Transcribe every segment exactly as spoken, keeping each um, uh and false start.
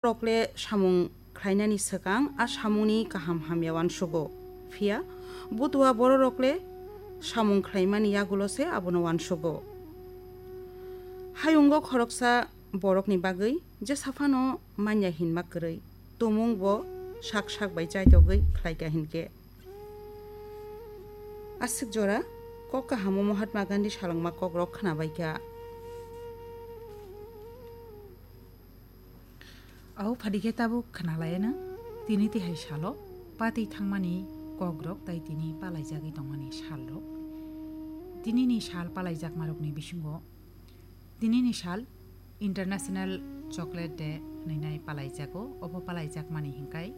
Bororok le samung khlainani swkang a samungni kaham hamya uansugo. Phiya butua bororok le samung khlaimani yagulo se abono uansugo. Hayungo khoroksa borokni bagwi jesa phano manya hinma kwrwi, tumung bo sak sak bai chaitogwi khlaika hinkhe. Aswk jora kok kahamo Mahatma Gandhi salwngma kokrok khnabaikha. Au phadi khe tabuk khnalaiyano, tini tihai salo patwi thangmani kokrok tai tini palaijagwi tongmani salrok. Tinini sal palaijakmarokni bisingo tinini sal International Chocolate Day hwnwi nai palaijago. Obo palaijakmani hinkhai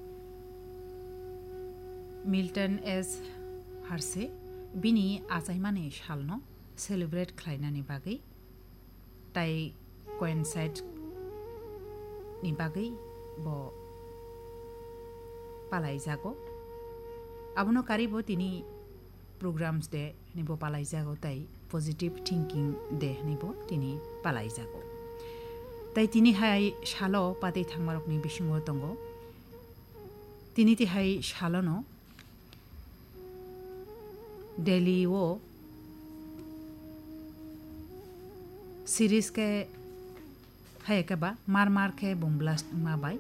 Milton S. Hershey bini achaimani salno celebrate khlainani bagwi tai coincide ni bagwi bo palaijago. Abono karibo tini programs day hwnwi bo palaijago tai positive thinking day hwnwi bo tini palaijago. Tai tini hai salo patwi thangmarokni bisingo tongo. Tini tihai salono Delhi o series khe hai khe ba mar mar khe bomb blast wngma bai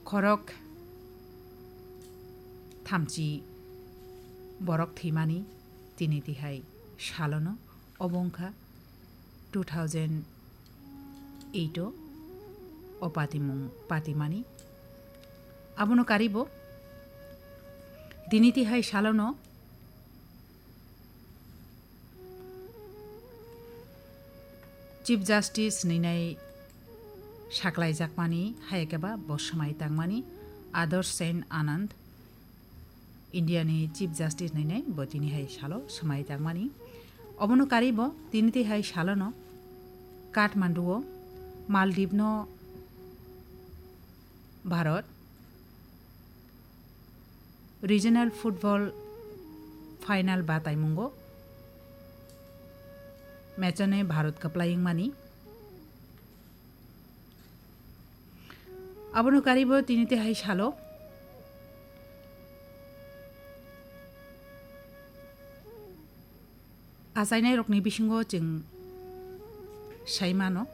khorok thamchi borok thwimani tini tihai salono obo wngkha two thousand eight o o patimung patimani. Abono karibo tini tihai salono Chief Justice hwnwi nai saklaijakmani, hai khe ba bo swmai tangmani Adarsh Sen Anand, India ni Chief Justice hwnwi nai bo tini hai salo swmai tangmani. Obono karibo tini tihai salono Kathmandu o Maldives no Bharat Regional Football Final bataimungo match-o ne Bharat kwplai wngmani. Abono karibo tini tihai salo achainairokni bisingo chwng sai mano.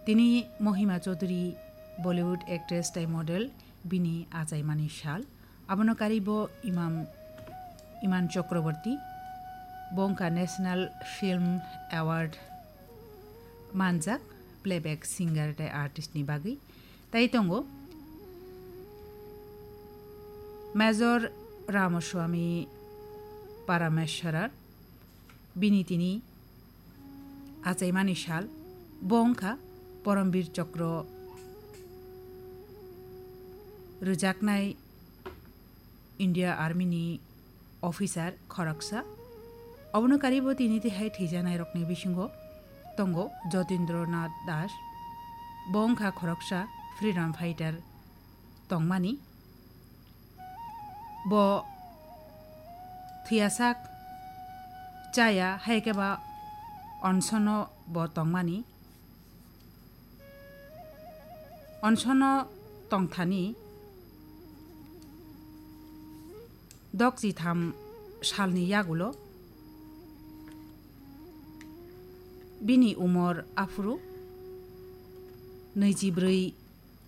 Tini Mohima Chaudhary, Bollywood actress tei model, bini achaimani sal. Abono karibo Imam, Iman Chakraborty, bo wngkha National Film Award manjak playback singer tei artist ni bagwi. Tai tongo Major Ramaswamy Parameswaran, bini tini achaimani sal, bo wngkha Poromvir Chokro rwjaknai India Army ni officer khoroksa. Obono karibo tini tihai thwijanairokni bisingo tongo Jatindra Nath Das, bo wngkha khoroksa freedom fighter tongmani. Bo thwiyasak chaya, hai khe ba onsono bo tongmani. Onsono tongthani dok chitham salni yagulo bini umor aphuru nwijibrwi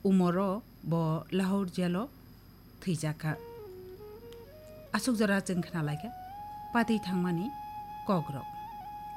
umoro bo Lahore jailo thwijakha. Aswk jora chwng khnalaikha patwi thangmani kokrok.